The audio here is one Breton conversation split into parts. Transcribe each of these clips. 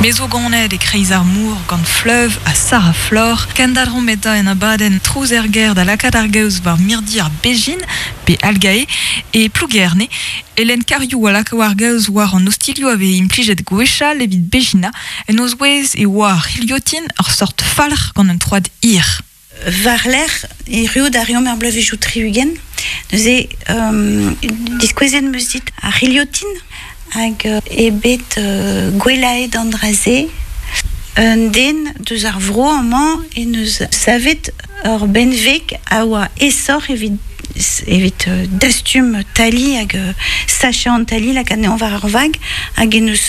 Me zo ganet e-kreiz ar mor gant Fleuve ha Sarah Flor. Kendalc'homp eta en abadenn Trouz er gêr da lakaat ar gaoz war mirdi ar bezhin, pe algae, e Plougerne. Hélène Cariou a laka war gaoz war an ostilhoù a veze implijet gwechall evit bezhina. En o zouez e oa ar c'hilhotin, ur sort falc'h gant un troad hir. War-lerc'h erruout a reomp er bloavezhioù 60, neuze diskouezet 'm eus dit ar c'hilhotin hag eo bet gwellaet an dra-se. Un den deus ar vro amañ en deus savet ur benveg a oa aesoc'h evit evit dastum tali hag sachañ an tali, lakaat anezhañ war ar vag hag en deus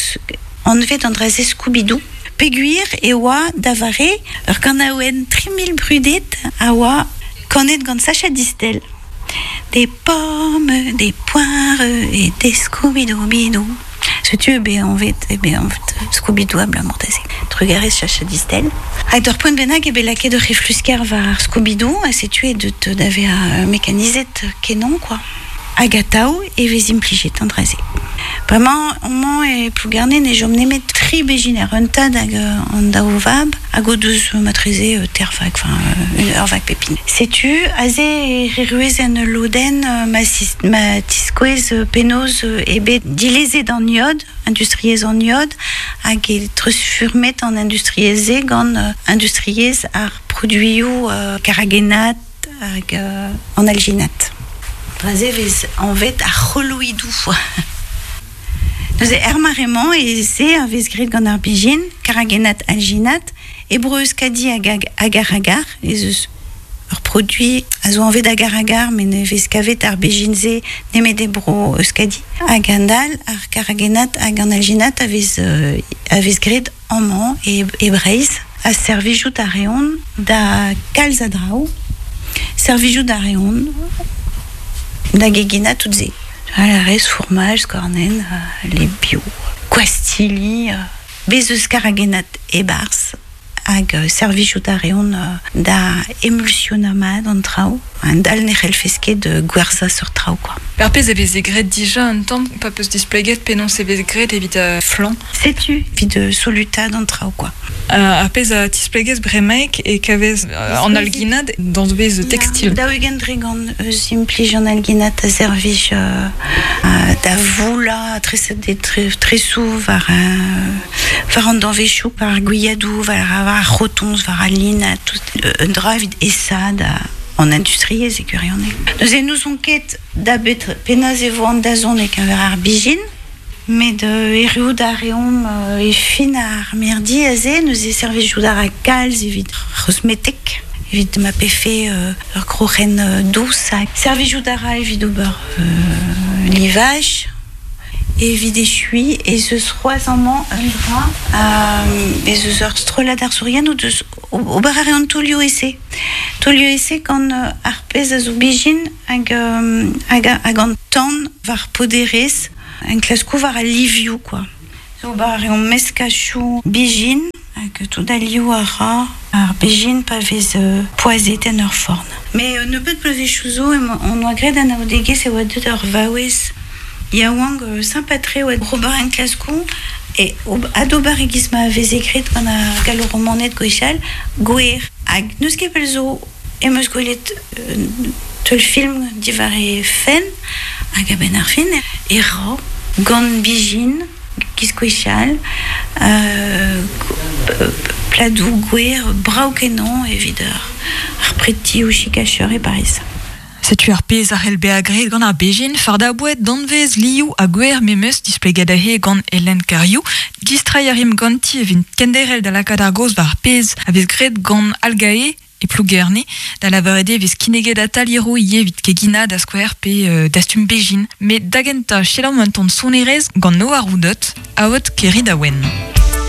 anvet an dra-se Scooby-Doo. Peogwir e oa da vare ur ganaouenn 3000 brudet a oa kanet gant Sacha Distel, Des pommes, des poires et des Scooby-Doo-bidou. Setu eo bet anvet eo bet anvet Scooby-Doo abalamour da se. Trugarez Sacha Distel. Hag d'ur poent bennak eo bet lakaet ur c'heflusker war ar Scooby-Doo ha setu eo deut da vezañ mekanizet kenañ kwa. Hag atav e vez implijet an dra-se. Bremañ amañ e Plougerne ne chom nemet tri bezhiner, un tad hag an daou vab, hag o deus matreze teir vag, enfin ur vag pep hini. Setu aze e erruez en ul lodenn ma, ma tiskouez penaos eo bet dilezet an iod, industriezh an iod, hag e treuzfurmet an industriezh-se gant industriezh ar produioù karagenat, hag an alginat. Dra-se e vez anvet ar c'holoidoù. Neuze er mare-mañ e se a vez graet gant ar bezhin, karagennat alginat. E Bro-Euskadi hag agar-agar ez eus ur produiñ a zo anvet agar-agar met ne vez kavet ar bezhin-se nemet e Bro-Euskadi. Hag a-hend-all, ar karagennat hag an alginat a vez a vez graet Amañ e Breizh ha servijout a reont da kalz a draoù. Servijout a reont da geginañ tout se. A rez fourmaj, skornenn, les bio, gwastilli, bez eus karagennad e-barzh. Hag servijout a reont da emulsionañ mat an traoù. Un dal ne c'hellfes ket gwerzhañ seurt traoù kwa. Ar pezh a veze graet dija un tamm pa peus displeget penaos e vez graet evit flañ. Setu evit solutaat an traoù kwa. Ar pezh a tisplegez bremaik e kavez an alginad danvez tekstil. 40% eus implij an alginad a servij da voulañ tresoù war war an danvezioù, war ar gwiadoù, war ar c'hotoñs, war al lin, tout un dra evit aesaat an industriezh e gwirionez. Neuze n'ouzon ket da bet penaos e vo an dazont e-keñver ar bezhin, met erruout a reomp e fin ar mirdi aze, neuze servijout a ra kalz evit ar c'hosmetek, evit ma pefe ur groc'hen dous. Servijout a ra evit ober livaj. Evit echuiñ ez eus c'hoazh amañ un dra, ez eus ur strollad arzourien o deus ober a reont taolioù-ese. Taolioù-ese gant ar pezh a zo bezhin hag hag an tan war poderezh, enklaskoù war al livioù kwa. Ober a reomp meskachoù bezhin hag tout al liv a ra ar bezhin pa vez poazhet en ur forn. Met un nebeud bloavezhioù zo hon oa graet anaoudegezh e oa deuet ur vaouez yaouank sympa-tre oa ober enklaskoù e adober e-giz ma veze graet gant ar Gallo-Romaned gwechall, gwer. Hag n'eus ket pell zo em eus gwelet un teulfilm diwar he fenn hag a-benn ar fin e ra gant bezhin giz gwechall pladoù gwer brav-kenañ evit ar pretioù chikacheur e Pariz. Setu ar pezh a c'hell bezañ graet gant ar bezhin, fardañ boued, danvez, liv ha gwer memes, displeget aze gant Hélène Cariou. Distreiñ a rimp ganti evit kenderc'hel da lakaat ar gaoz war ar pezh a vez graet gant Algae e Plougerne, da lavaret eo e vez kinniget atalieroù ivez evit keginañ da skouer pe dastum bezhin. Met da gentañ, selaomp un tamm sonerezh gant Noah Roudot, Aod Keridaouen.